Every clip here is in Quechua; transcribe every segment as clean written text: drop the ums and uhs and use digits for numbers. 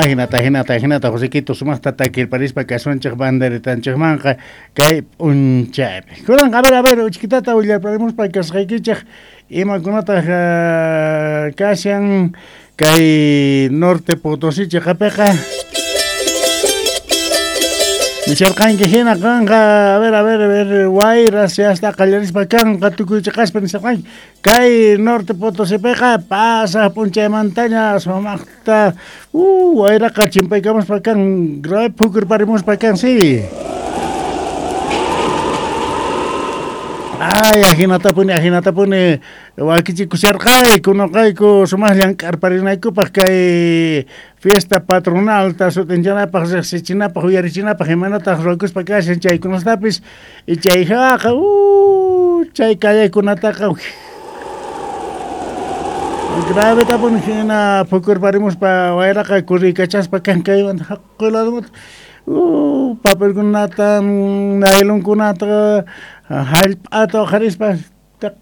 Ajinata, ajinata, ajinata, Josequito sumaqta takirparispa kasunchik banderitanchikmanqa kay p'unchaypi. Kunanqa, a ver, uchkitata willarparimuspa kasqaykichik imakunataq kashan kay Norte Potosí chiqapiqa. Nisharqanki hina kanqa, a ver, a ver, a ver, wayras yasta qallarispa kanqa tukuy chiqaspa nisharqanki. Kay Norte Potosípiqa pasaq p'unchaymantaña sumaqta wayraqa chimpaykamuspa kan, grave phukurparimuspa kan, sí. Ay, ajinatapuni, ajinatapuni wakichikusharqayku, noqayku sumaq llank'arparinaykupaq kay fiesta patronalta sut'inchanapaq, riqsichinapaq, uyarichinapaq, imanataq ruwakuspa kashan chaykunastapis, y chayjaqa, chay callekunataqa gravetapuni hina phukurparimuspa wayraqa kurriykachaspa kan kaymanta haqay ladomanta, papelkunata, nailonkunata, hallp'ata uqharispa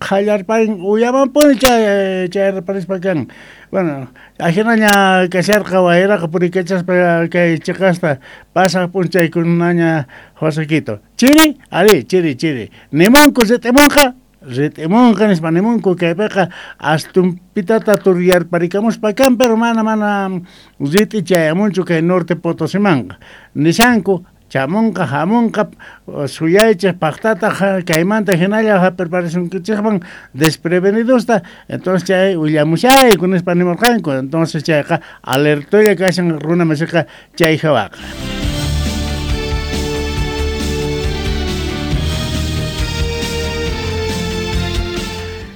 qhallarparin uyamanpuni chay chayrparispa kan. Bueno, ajinaña kasharqa wayraqa puriykachaspa kay chiqasta pasaq p'unchaykunaña Josequito. Chiri, ari, chiri, chiri. Nimunku rit'imunqa, rit'imunqa nispa nimunku kaypiqa astumpitata turyarparikamuspa kan, pero mana, mana rit'i chayamunchu kay Norte Potosimanqa. Nishanku chamunqa, hamunqa, suyaychik paqtataq kaymanta hinalla hap'irparisunkichikman desprevenidosta, entonces chay willamushayku nispa nimurqanku, entonces chayqa alertolla kashan runa masiqa chay hawaqa.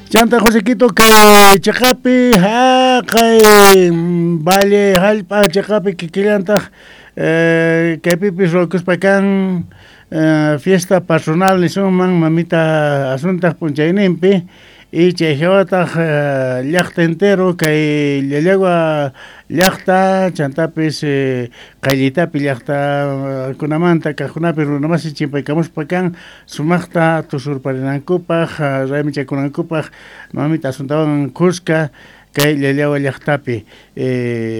Chanta Josequito kay chiqapi haqay valle hallp'a chiqapi kikillantaq kaypipis ruwakuspa kan fiesta patronal nisunman mamita Asuntaq p'unchayninpi y chay hawataq llaqta entero kay Llallagua llaqta chantapis qayllitapi llaqtakunamanta kaqkunapi runamasi chimpaykamuspa kan sumaqta tusurparinankupaq raymichakunankupaq mamita Asuntawan kuska kay Llallagua llaqtapi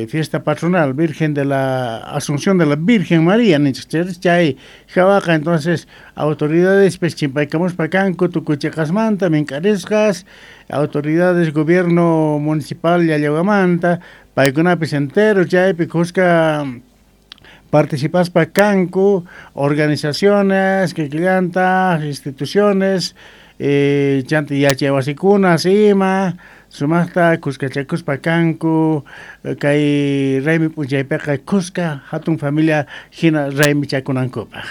fiesta patronal Virgen de la Asunción de la Virgen María ninchik chay hawaqa entonces autoridades pues chimpaykamuspa kanku tukuy chiqasmanta mink'arisqas autoridades gobierno municipal Llallaguamanta paykunapis entero chaypi kuska participaspa kanku organizaciones kikillantaq instituciones chanta yachay wasikuna ima sumaqta kuskachakuspa kanku kay raymi p'unchaypiqa kuska hatun familia hina raymichakunankupaq.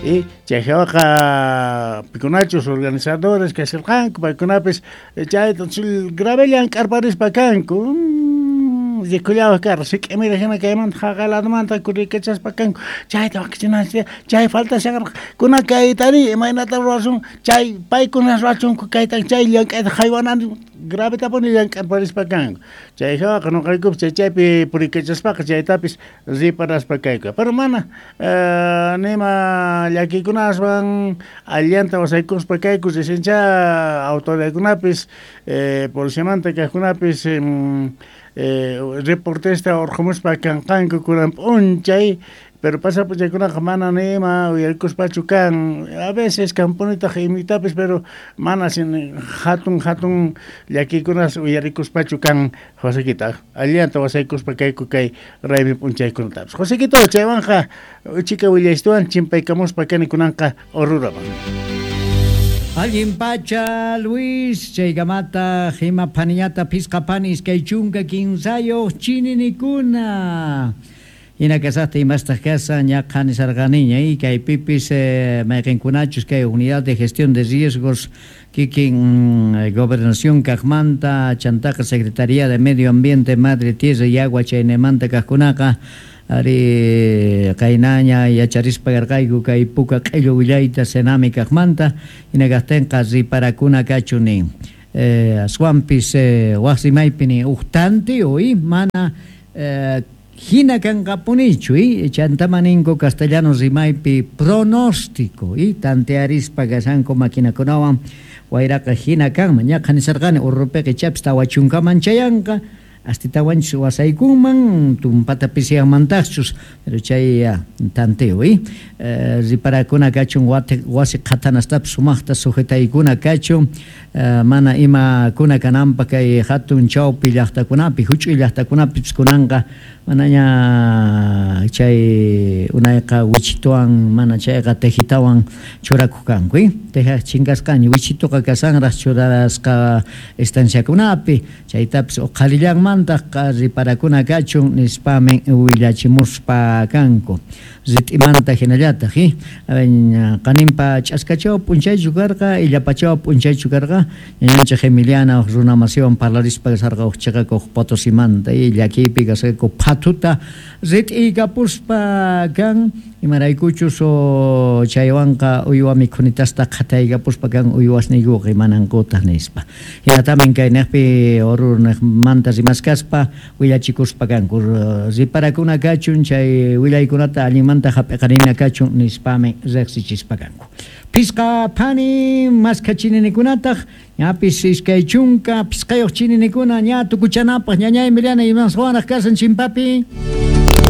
Y chay hawaqa pikunachus organizadores kasharqanku paykunapis chayta grave llank'arparispa kanku rikullawaq karqa sik'imira hina kaymanta haqay ladomanta kurriykachaspa kanku chayta wakichinanchik chay faltasharqa kuna kaytari imaynata ruwasun chay paykuna ruwachunku kayta chay llank'ayta haywanani gravetapuni llank'arparispa kanku chay hawaqa nuqaykupis chay chaypi puriykachaspaqa chaytapis riparaspa kayku pero mana nima llakikunaswan allanta wasaykuspa kayku risincha autoridadkunapis policiamanta kaqkunapis reportesta urqumuspa kanqanku kunan p'unchay pero pasaq p'unchaykunaqa mana nima uyarikuspachu kan a veces kanpunitaq imitapis pero mana sin hatun hatun llakikunas uyarikuspachu kan Josequito allanta wasaykuspa kayku kay raymi p'unchaykunatapis Josequito chaywanqa uchika willaystuwan chimpaykamuspa kani kunanqa Oruraman. Allin pacha Luis chaykamata hima phaniñata phisqa phani iskay chunka kinsayuq chininikuna hina kasaqta imastaq kasa ñaqa nisarqaniña y kaypipis mayqinkunachus kay unidad de gestión de riesgos kikin gobernación kaqmanta chantaqa Secretaría de Medio Ambiente Madre Tierra y Agua chaynemanta kaqkunaqa ari qaynaña yacharispa karqayku kay puka q'illu willayta Senami kaqmanta hina kaqtinqa riparakuna kachu nin aswanpis waq rimaypi nin huk tantiyu mana hina kanqapunichu chantama ninku castellano rimaypi pronóstico tantearispa kashanku maquinakunawan wayraqa hina kanman ñaqa nisarqani urrupiqa ichapis tawa chunkaman chayanqa Astitawanchus wasaykunman tumpata pisiyanmantaqchus, pero chay tanteo, riparakuna kachun wasi qhatanastapis sumaqta sujetaykuna kachun, mana imakuna kananpaq kay hatun chawpi llaqtakunapi, huch'uy llaqtakunapipis kunanqa manaña chay unayqa wichituwan mana chayqa tejitawan churakuq kanku, teja chinkasqaña, wichituqa kashanraq churasqa estanciakunapi, chaytapis uqhalillanmantaq riparakuna kachun nispamin willachimuspa kanku. Rit'imanta hinallataq, qaninpa ch'askachaw p'unchaychu karqa, illapachaw p'unchaychu karqa, ñañanchik Emiliana runa masiwan parlarispa kasarqa uq chiqakuq Potosimanta, llakiypi kasqaku phathuta rit'iykapuspa kan, imaraykuchus chaywanqa uywa mikhunitasta qhataykapuspa kan uywasniykuqa imanankutaq nispa. Hinatamin kay niqpi Oruro niqmanta rimaskaspa willachikuspa kanku, riparakuna kachun chay willaykunata allinmanta hap'iqarina kachun nispami riqsichispa kanku. Phisqa phani maskha chininikunataq, ñapis 25 chininikunam ña tukuchanapaq, ñañay Emiliana, imaswanraq kasan chimpapi.